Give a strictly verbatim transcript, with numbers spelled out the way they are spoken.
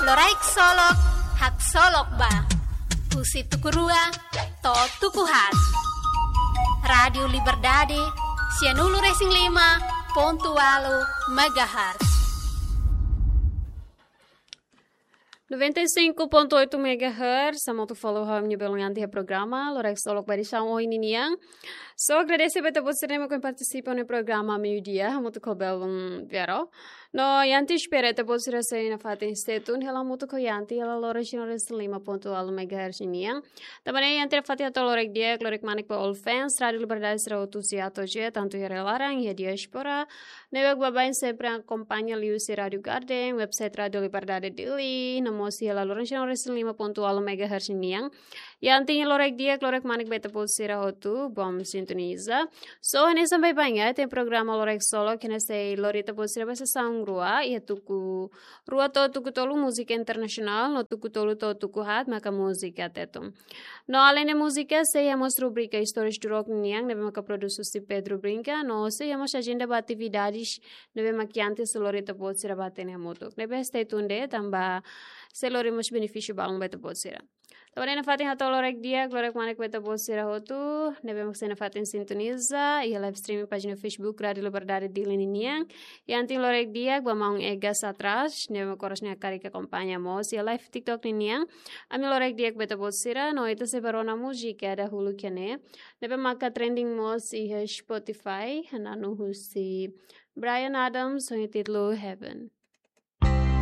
Loraik Solok, haksolok ba. Husi tuku rua to'o tuku haat. Rádiu Liberdade, sianulu-resin-lima pontu ualu megahertz. Noventa e cinco ponto oito megahertz, hamutuk fali ho ami-nia belun Yanti iha programa Loraik Solok ba edisaun ohin ninian. So, agradese ba ita-boot sira ne'ebé partisipa iha programa meiudia, hamutuk ho belun Vero. No Yanti espera ita-boot sira sei nafatin stay tune hela hamutuk ho Yanti hela loron sira resin lima pontu ualu megahertz nian. Tanba ne'e Yanti nafatin hato'o loraik di'ak, loraik manek ba all fans Rádiu Liberdade sira hotu, sira hotu, tantu iha rai-laran, iha diáspora, ne'ebé baibain sempre akompaña liuhusi Rádiu Garden, website Rádiu Liberdade Dili, no mós iha loron sira resin lima pontu ualu megahertz nian. Yanti loraik di'ak, loraik manek ba ita-boot sira hotu, bom sintoniza. So, hanesan baibain iha programa Loraik Solok, ne'ebé sei lori ita-boot sira ba sesaun rua, iha tuku rua to'o tuku tolu múzika internasionál, no tuku tolu to'o tuku haat maka múzika Tetun. No aleinde múzika, sei iha mós rubrika Histórias do Rock nian, ne'ebé maka produsaun husi Pedro Brinca, no sei iha mós ajenda ba atividades ne'ebé mak Yanti sei lori ita-boot sira ba hatene hamutuk. Ne'ebé stay tuned de'it, tanba sei lori mós benefísiu balun ba ita-boot sira. Tanba ne'e nafatin hato'o loraik di'ak, loraik manek ba ita-boot sira hotu, ne'ebé mak sei nafatin sintoniza iha live streaming pájina Facebook Rádiu Liberdade Dili ninian. Yanti loraik di'ak ba maun Egas Atras, ne'ebé mak oras ne'e hakarak akompaña mós iha live TikTok ninian. Ami loraik di'ak ba ita-boot sira, no ita sei ba rona múzika dahuluk iha ne'e, ne'ebé maka trending mós iha Spotify, hananu husi Bryan Adams, ho títulu Heaven.